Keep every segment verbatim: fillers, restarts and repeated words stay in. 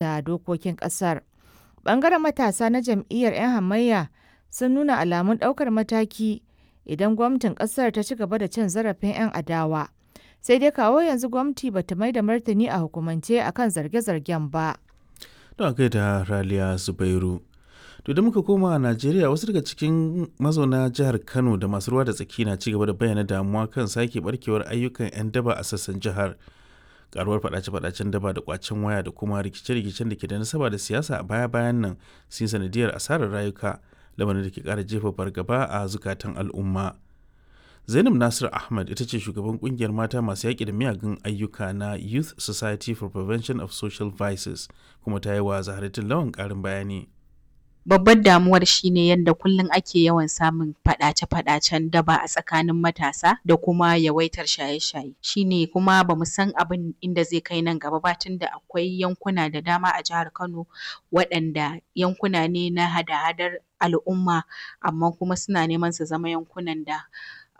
Da dokokin ƙasar. Ɓangaren matasa na jam'iyyar 'yan hamayya sun nuna alamun ɗaukar mataki idan gwamnatin ƙasar ta ci gaba da cin zarafin 'yan adawa, sai dai kawo yanzu gwamnati ba ta maida martani a hukumance a kan zarge-zargen ba. Don a gaida Raliya Zubairu. To da muka koma Najeriya, wasu daga cikin mazauna jihar Kano da masu ruwa da tsaki na cigaba da bayyana damuwa kan sake barkewar ayyukan 'yan daba a sassan jihar. Karuwar fadace-fadacen daba da kwacen waya da kuma rikice-rikicen da ke da nasaba da siyasa a baya-bayan nan sun sanadiyar asarar rayuka, lamarin da ke kara jefa fargaba a zukatan al'umma. Zainab Nasir Ahmad ita ce shugaban kungiyar mata masu yaƙi da miyagun ayyuka na Youth Society for Prevention of Social Vices, kuma ta yi wa Zaharatin Lawan ƙarin bayani. Babbar damuwar shine yadda kullum ake yawan samun faɗace-faɗacen daba a tsakanin matasa da kuma yawaitar shaye-shaye. Shine kuma bamu san abin inda zai kai nan gaba ba, tunda akwai yankuna da dama a jihar Kano waɗanda yankuna ne na hada-hadar al'umma, amma kuma suna neman su zama yankunan da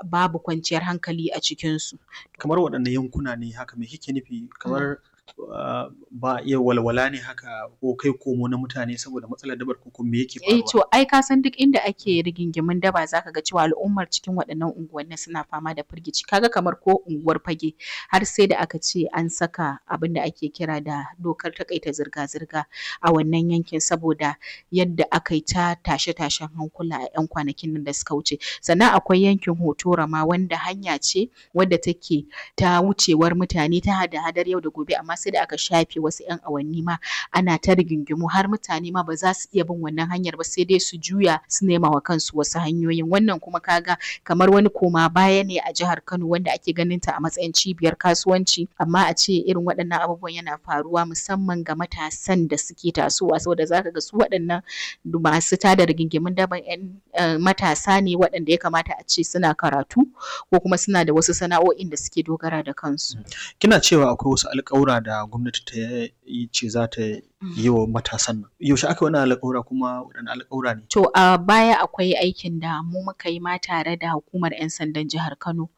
babu kwanciyar hankali a cikinsu. Kamar waɗanne yankuna ne haka? Me kike nufi? Kamar uh, ba a iya walwala ne haka ko kai komo na mutane saboda matsalar dabar, ko me yake Eh faruwa? To ai ka san duk inda ake rigingimun daba, zaka ga cewa al'ummar cikin waɗannan unguwannin suna fama da firgici. Kaga kamar ko unguwar Fage, har sai da aka ce an saka abin da ake kira da dokar taƙaita zirga-zirga a wannan yankin, saboda yadda aka yi ta tashe-tashen hankula a 'yan kwanakin nan da suka wuce. Sannan akwai yankin Hotora ma, wanda hanya ce wadda take ta wucewar mutane ta hada-hadar yau da gobe, amma sai da aka shafe wasu 'yan awanni ma ana ta rigingimu, har mutane ma ba za su iya bin wannan hanyar ba, sai dai su juya su nema wa kansu wasu hanyoyin. Wannan kuma kaga kamar wani koma baya ne a jihar Kano, wanda ake ganin ta a matsayin cibiyar kasuwanci, amma a ce irin waɗannan abubuwan yana faruwa, musamman ga matasan da suke tasowa, saboda zaka ga su waɗannan masu tada rigingimun daban 'yan matasa ne waɗanda ya kamata a ce suna karatu ko kuma suna da wasu sana'o'in da suke dogara da kansu. Kina cewa akwai wasu alƙawura da gwamnati ta yi ce za ta yi wa matasan nan. Yaushe aka yi wannan alƙawura, kuma waɗanne alƙawura ne? To a baya akwai aikin da mu muka yi ma tare da hukumar 'yan sandan jihar Kano,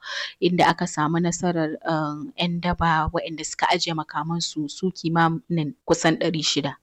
inda aka samu nasarar um, 'yan daba waɗanda suka ajiye makamansu su kimanin kusan ɗari shida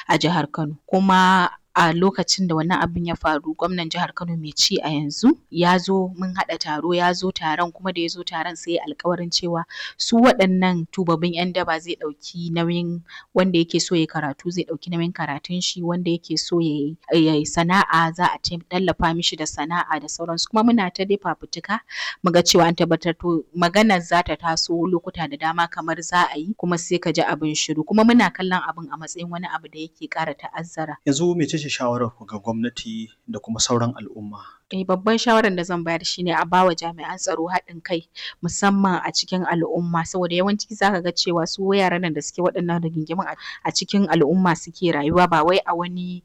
a jihar Kano. Kuma a lokacin da wannan abin ya faru, gwamnan jihar Kano mai ci a yanzu ya zo, mun haɗa taro, ya zo taron, kuma da ya zo taron sai ya alkawarin cewa su waɗannan tubabbin 'yan daba zai ɗauki nauyin wanda yake so ya karatu, zai ɗauki nauyin karatun shi, wanda yake so ya yi sana'a, za a tallafa mishi da sana'a da sauransu. Kuma muna ta dai fafutuka muga cewa an tabbatar. To maganar za ta taso lokuta da dama kamar za a yi, kuma sai ka ji abin shiru, kuma muna kallon abin a matsayin wani abu da yake ƙara ta'azzara. Yanzu mece ce shawarar ku ga gwamnati da kuma sauran al'umma? Eh, babban shawarar da zan bayar shine a bawa jami'an tsaro haɗin kai, musamman a cikin al'umma, saboda yawanci zaka ga cewa su yaran nan da suke waɗannan rigingimun a cikin al'umma suke rayuwa, ba wai a wani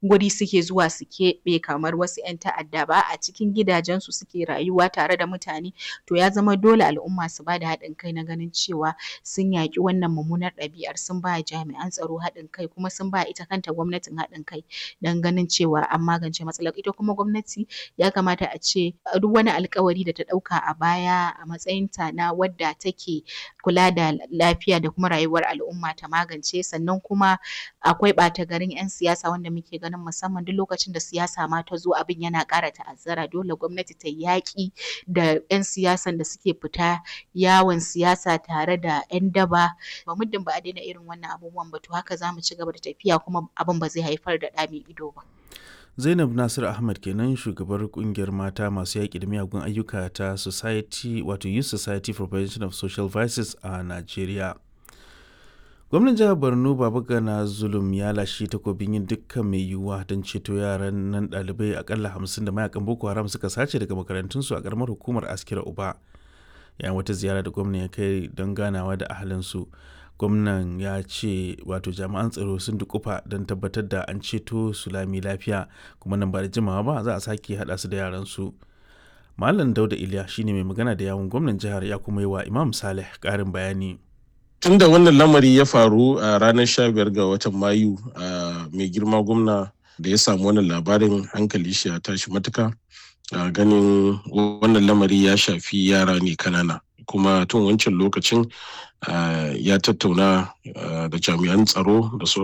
guri suke zuwa su keɓe kamar wasu 'yan ta'adda ba, a cikin gidajensu suke rayuwa tare da mutane. To ya zama dole al'umma su bada haɗin kai na ganin cewa sun yaƙi wannan mummunar ɗabi'ar, sun ba jami'an tsaro haɗin kai, kuma sun ba ita kanta gwamnatin haɗin kai don ganin cewa an magance matsalar. Ita kuma gwamnati ya kamata a ce duk wani alkawari da ta ɗauka a baya a matsayinta na wadda take kula da lafiya da kuma rayuwar al'umma ta magance. Sannan kuma akwai ɓata garin 'yan siyasa wanda muke ganin musamman duk lokacin da siyasa ma ta zo abin yana ƙara ta'azzara. Dole gwamnati ta yaƙi da 'yan siyasan da suke fita yawon siyasa tare da 'yan daba. Ba muddin ba a daina irin wannan abubuwan ba, to haka za mu ci gaba da tafiya kuma abin ba zai haifar da ɗa mai ido ba. Zainab Nasir Ahmad kenan, shugabar kungiyar mata masu yaƙi da miyagun ayyuka ta Society wato Youth Society for Prevention of Social Vices a Najeriya. Gwamnan jihar Borno Babagana Zulum ya lashe takobin yin dukkan mai yiwuwa don ceto yaran nan ɗalibai akalla hamsin da mayakan Boko Haram suka sace daga makarantunsu a ƙaramar hukumar Askira Uba. Yayin wata ziyara da gwamnan ya kai don ganawa da ahalinsu, gwamnan ya ce wato jami'an tsaro sun dukufa don tabbatar da an ceto su lami lafiya, kuma nan ba da jimawa ba za a sake haɗa su da yaransu. Malam Dauda Iliya shine mai magana da yawun gwamnan jihar, ya kuma yi wa Imam Saleh ƙarin bayani. Tun da wannan lamari ya faru a ranar sha biyar ga watan Mayu, a mai girma gwamna da ya samu wannan labarin, hankali shi ya tashi matuka, ganin wannan lamari ya shafi yara ne kanana. Kuma tun wancan lokacin ya tattauna da jami'an tsaro da sauran